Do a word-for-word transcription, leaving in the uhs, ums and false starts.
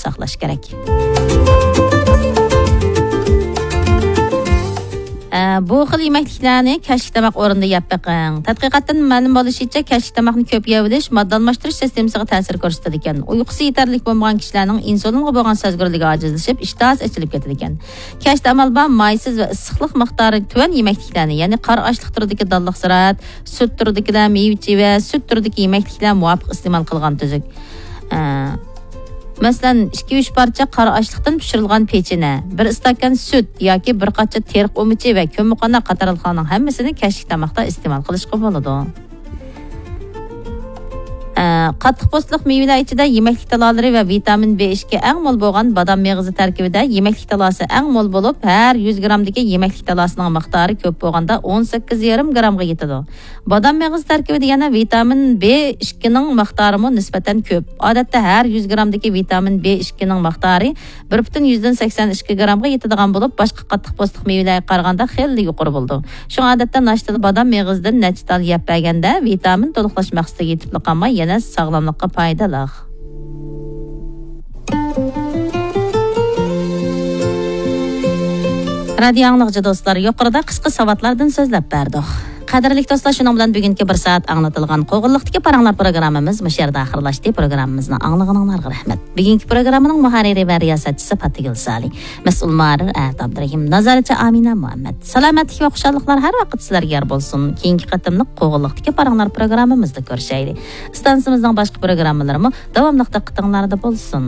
ساقلاش كېرەك. ئە، بۇ خىل يېمەكلىكلەرنى كەچلىك تاماق ئورنىدا يەپ بېقىڭ. تەتقىقاتتىن مەلۇم بولۇشىچە، كەچلىك تاماقنى كۆپ يەۋېلىش ماددا ئالماشتۇرۇش سىستېمىسىغا تەسىر كۆرسىتىدىكەن. ئۇيقۇسى يېتەرلىك بولمىغان كىشىلەرنىڭ ئىنسۇلىنغا بولغان سەزگۈرلۈكى ئاجىزلىشىپ، ئىشتىھاسى ئېچىلىپ كېتىدىكەن. كەچتە ئامال بار مايسىز ۋە ئىسسىقلىق مىقدارى تۆۋەن يېمەكلىكلەرنى، يەنى قارا ئاشلىق تۈرىدىكى دانلىق زىرائەت، سۈت تۈرىدىكىلەر، مېۋە-چېۋە، سۈت تۈرىدىكى يېمەكلىكلەر مۇۋاپىق ئىستېمال قىلغان تۈزۈك. ئە، مەسىلەن، ئىككى-ئۈچ پارچە قارا ئاشلىقتىن پىشۇرۇلغان پېچىنە، بىر ئىستاكان سۈت ياكى بىر قاچا تېرىق ئۇمىچى ۋە كۆممىقوناق قاتارلىقلارنىڭ ھەممىسىنى كەچلىك تاماقتا ئىستېمال قىلىشقا بولىدۇ. ئە، قاتتىق پوستلۇق مېۋىلەر ئىچىدە يېمەكلىك تالالىرى ۋە ۋىتامىن بې ئىككى ئەڭ مول بولغان بادام مېغىزى تەركىبىدە يېمەكلىك تالاسى ئەڭ مول بولۇپ، ھەر يۈز گرامدىكى يېمەكلىك تالاسىنىڭ مىقدارى كۆپ بولغاندا ئون سەككىز يېرىم گرامغا يېتىدۇ. بادام مېغىزى تەركىبىدە يەنە ۋىتامىن بې ئىككىنىڭ مىقدارىمۇ نىسبەتەن كۆپ. ئادەتتە ھەر يۈز گرامدىكى ۋىتامىن بې ئىككىنىڭ مىقدارى بىر پۈتۈن يۈزدىن سەكسەن ئىككى گرامغا يېتىدىغان بولۇپ، باشقا قاتتىق پوستلۇق مېۋىلەرگە قارىغاندا خېلى يۇقىرى بولىدۇ. شۇڭا ئادەتتە ناشتىدا بادام مېغىزىدىن نەچچە تال يەپ بەرگەندە ۋىتامىن تولۇقلاش مەقسىتىگە يېتىپلا قالماي، يەنە ساغلاملىققا پايدىلىق. رادىيو ئاڭلىغۇچى دوستلار، يۇقىرىدا قىسقا ساۋاتلاردىن سۆزلەپ بەردۇق. قەدىرلىك دوستلار، شۇنىڭ بىلەن بۈگۈنكى بىر سائەت ئاڭلىتىلغان قوغۇنلۇقتىكى پاراڭلار پروگراممىمىز مۇشۇ يەردە ئاخىرلاشتى. پروگراممىمىزنى ئاڭلىغىنىڭلارغا رەھمەت. بۈگۈنكى پروگراممىنىڭ مۇھەررىرى ۋە رىياسەتچىسى پاتىگۈل سالى، مەسئۇل مۇھەررىر ئەتە ئابدۇرېھىم، نازارەتچى ئامىنە مۇھەممەد. سالامەتلىك ۋە خۇشاللىقلار ھەر ۋاقىت سىلەرگە يار بولسۇن. كېيىنكى قېتىملىق قوغۇنلۇقتىكى پاراڭلار پروگراممىمىزدا كۆرۈشەيلى. ئىستانسىمىزنىڭ باشقا پروگراممىلىرىمۇ داۋاملىق دىققىتىڭلاردا بولسۇن.